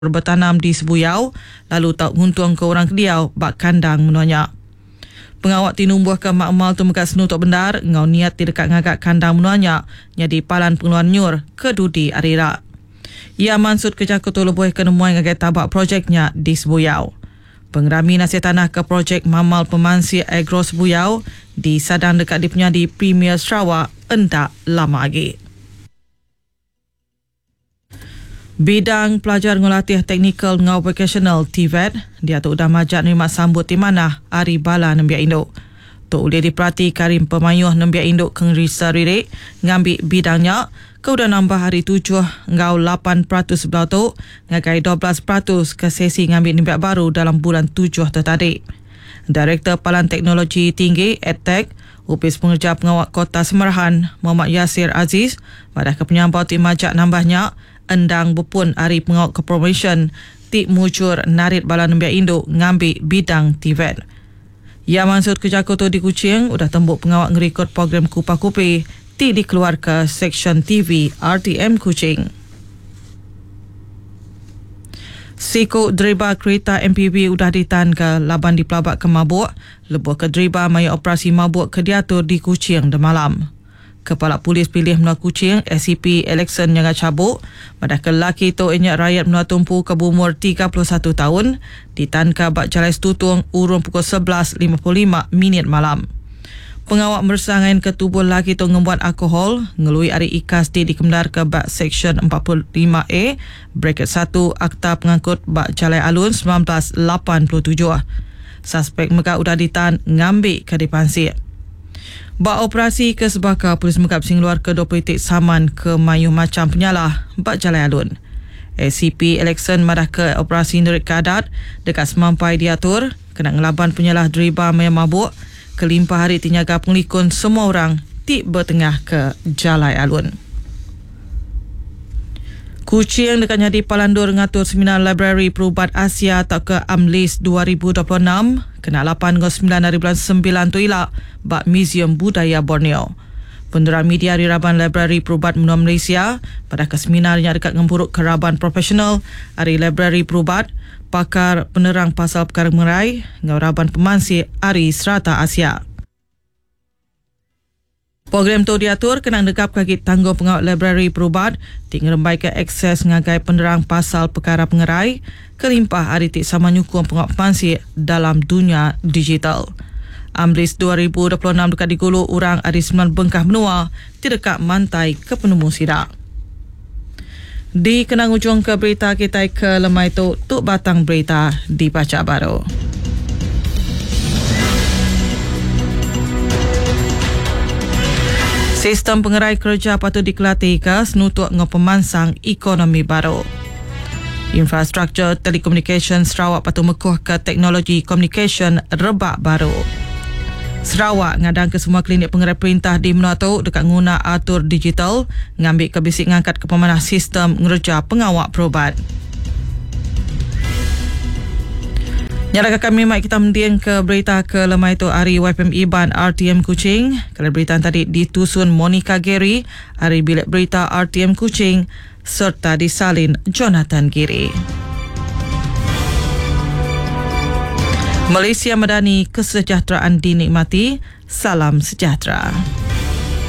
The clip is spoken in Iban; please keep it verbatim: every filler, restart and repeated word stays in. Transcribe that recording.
Betanam di Sebuyau lalu tau nguntungka orang ke diau ba kandang menua nya. Pengawa ti numbuhka makmal tu mega senutuk bendar enggau niat ti deka ngaga kandang menua nya nyadi palan pengeluar nyur ke dudi hari ira. Iya mansutka jaku tu lebuh ke nemuai ngagai taba projek nya di Sebuyau. Pengerami nasih tanah ke projek Mamal Pemansik Agro Sebuyau disadang deka dipenyadi Premier Sarawak enda lama agi. Bidang Pelajar enggau Latih Teknikal enggau Vokasional T V E T diatu udah majak nerima sambut ti manah ari bala nembiak indu. Tu ulih diperati ari pemayuh nembiak indu ke ngerisa ririk ngambi bidang nya ke udah nambah hari tujuh enggau lapan peratus sebelah tu ngagai dua belas peratus ke sesi ngambi nembiak baru dalam bulan tujuh tu tadi. Direktor Palan Teknologi Tinggi EdTech Opis Pengerja Pengawa Kota Semerahan Muhammad Yasir Aziz madah ke penyampau ti majak nambahnya endang bepun ari pengawa corporation ti mujur narit bala nembiak indu ngambi bidang T V E T. Ia maksud ke jaku tu di Kuching udah tembuk pengawa ngerikod program Kupa Kupi ti dikeluarkan Seksyen T V R T M Kuching. Siku driba kereta M P V udah ditanka laban dipelabak ke mabuk lebuh ke driba maya operasi mabuk ke diatur di Kuching demalam. Kepala Polis Pilih Menua Kuching S C P Alexon Nyanga Cabuk madah ke lelaki tu ianya rakyat menua tumpu ke berumur tiga puluh satu tahun ditanka bak Jalai Setutung urung pukul sebelas lima puluh lima minit malam. Pengawak meresa ngain ke tubuh lelaki tu ngembuan alkohol ngelui ari ikas ti dikemendar ke bak Seksyen empat puluh lima A bracket satu Akta Pengangkut bak Jalai Alun sembilan belas lapan puluh tujuh. Suspek mega udah ditan ngambi ke dipansik. Ba operasi ke sebaka, polis mega bisi ngeluar ke dua puluh titik saman ke mayuh macam penyalah bak Jalai Alun. S C P Alexon madah ke operasi nerit ke adat dekat semampai diatur kena ngelaban penyalah deriba maya mabuk kelimpah hari ti nyaga pengelikun semua orang ti bertengah ke Jalai Alun. Kuching dekat nyadi palandur ngatur seminar Library Perubat Asia atau ke AMLIS dua ribu dua puluh enam kena lapan hingga sembilan hari bulan sembilan tu ila bak Museum Budaya Borneo. Penerang media di Raban Library Perubat Menua Malaysia pada ke seminarnya dekat ngempuruk ke raban profesional hari Library Perubat, pakar penerang pasal perkara mengerai ngau raban pemansik hari serata Asia. Program tu diatur kena negap kaki tanggung pengawal Library Perubat ti ngerembai ke akses ngagai penerang pasal perkara pengerai kelimpah hari ti sama nyukung pengawal pemansik dalam dunia digital. AMLIS dua ribu dua puluh enam dekat digulu orang ari sembilan bengkah menua ti dekat mantai ke penemu sidak. Di kenang ujung ke berita kita ke lemai tu, tu batang berita dibaca baru. Sistem pengerai kerja patut dikelatih ke senutuk ngau pemansang ekonomi baru. Infrastruktur telekomunikasi Sarawak patut mekuh ke teknologi komunikasi rebak baru. Sarawak ngadang ke semua klinik pengerai perintah di menua tu dekat nguna atur digital ngambil ke bisik ngangkat ke pemanah sistem ngerja pengawak perubat. Nyalaka kami mai kita mending ke berita ke lemai tu hari Y P M Iban R T M Kuching. Kalau berita tadi ditusun Monica Gary hari bilik berita R T M Kuching serta disalin Jonathan Giri. Malaysia Madani, kesejahteraan dinikmati. Salam sejahtera.